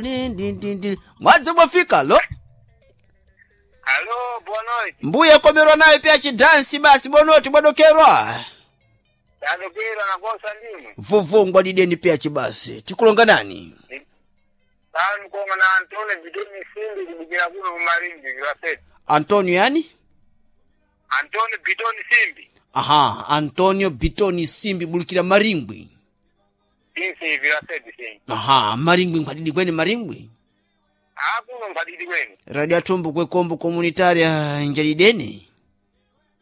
Ndi mwadzi mwafika lo. Alo, boa noite. Mbuya komerwa nayo pya chidansi basi bonoti bwadokerwa. Tadokera na kosa ndimwe. Vuvungwa dideni pya chibasi. Tikulonga nani? Tani konga na Antonio Bidoni Simbi kubikira kuno kumaringi kwa Antonio yani? Antonio Bidoni Simbi. Aha, Antonio Bitoni Simbi bulukira Maringwi. Insi vila seti simbi. Aha, Maringwi nkwadidi kweni Maringwi. Akuno nkwadidi kweni. Radio atumbu kwekombo komunitaria njalideni.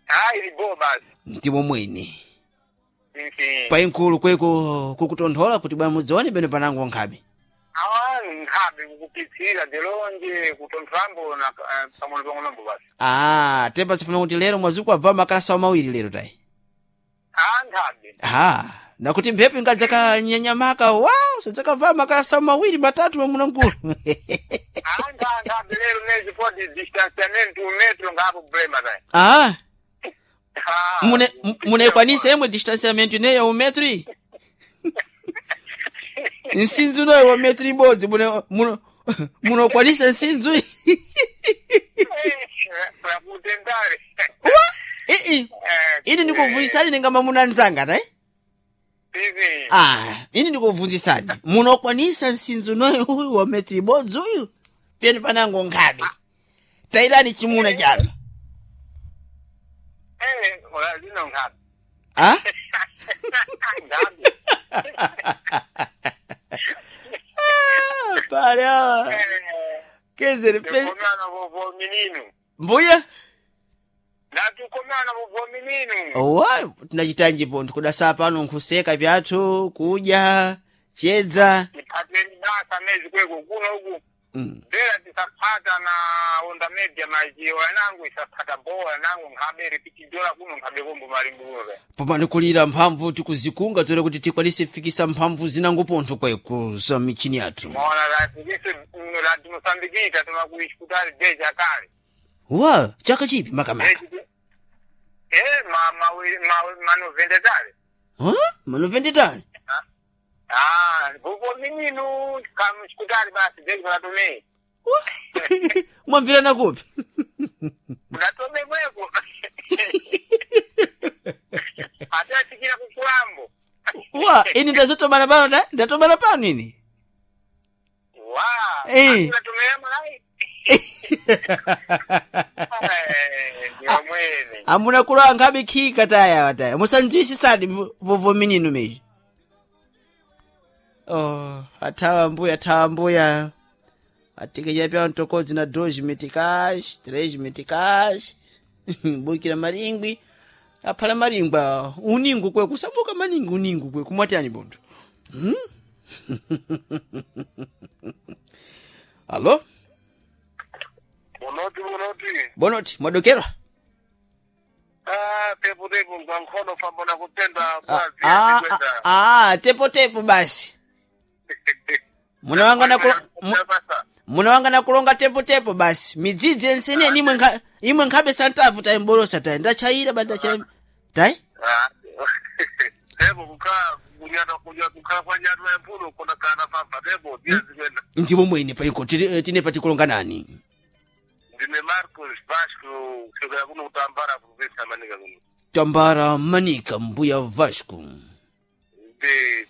Ah, ili bo basi. Ndimo mwene. Insi. Payinkulu kweko kukutonthola kuti bwana mudzione pene panango nkhabe. Awa nkhabe kukupitsira delonje kutonthambo na pang'ono pang'onombo basi. Ah, tepa sifuna kuti lero mwazuku abva makalasa mawiri lero tayi. Ah, nkhabe. Ah, nakuti mphepo ingadzakanyanyamaka wa sadzakabva makalasa mawiri matatu mamuna nkulu. Ah, nkhabe lero nezi podi distanciamento un metro ngapo problema tayi. Ah, Ah, mune munekwanisa imwe distanciamento ineyo umetri? Nsinzu noyo wa metri ibodzi mune muno munokwanisa nsinzu? Pakutendare. Ii, ini ndikuvunzisani ninga mamuna nzanga tayi? Ivi. Ah, ini ndikuvunzisani. Munokwanisa nsinzu noyo uyu wa metri ibodzi uyu? Pene panango nkhabe. Tayilani chimuna chanu. Eh, ora lino nkhabe. Ah? Nkhabe. Ah, para. Quer Tukomana vovo minino. Mbuya? Natukomana vovo minino. Owa, tinachitanji pontho kudasa pano nkhuseka pyathu, kudya, chedza. Tipateni basa mezi kweko kuno uku. Mm. Bera tisapata na onda media majiwa nangu isapata bola nangu nkhabe repitidola kuno nkhabe kombo malimbuwe. Pomani kulira mphamvu tikuzikunga tore kuti tikwanise kufikisa mphamvu zinango pontho kweko za michini yathu. Maona rafikise rati Mosambikita tumakuishikutali deja kale. Wa, chaka chipi makamaka? Eh, ma ma ma manovende tale. Ha? Manovende tale? Ah, vovo minino kamushikutali basi deja natumei. Wa. Mwamvirana kupi? Unatome kweko. Atatikira kukulambo. Wa, ini ndazotomana pano da? Ndatomana pano ini? Wa. Eh. Unatumia malai. Eh, ndiyo mwene. Amuna kulowa nkhabe khika taya wataya. Musandziwisisadi vovo minino meji. Oh, athawa mbuya, athawa mbuya. Atikenya pya ntokodzi na 2 meticais, 3 meticais. Bukira maringwi. Aphala maringwa uningu kwe kusabuka maningi uningu kwe kumwatani bontho. Hmm? Alo? Bonoti bonoti. Bonoti, mwadokerwa? Ah, tepo tepo ngwankhono fambona kutenda Ah, ah, ah, tepo tepo basi. Muna wanga na kulo, muna wanga na kulonga tepo tepo basi. Midzidzi ensene imwe nkha imwe nkhabe santavu tayi mbolosa tayi ndachayira ba ndachayira. Tai? Tepo kukhala kunyana kunya kukhala kwa nyana ya mpuno kona kana papa tepo ndiyazikwenda. Ndipo mwene paiko tine patikulonga nani? Ndine Marcos Vasco kusokera kuno kutambara province ya Manica kuno. Tambara Manika mbuya Vasco. Ndi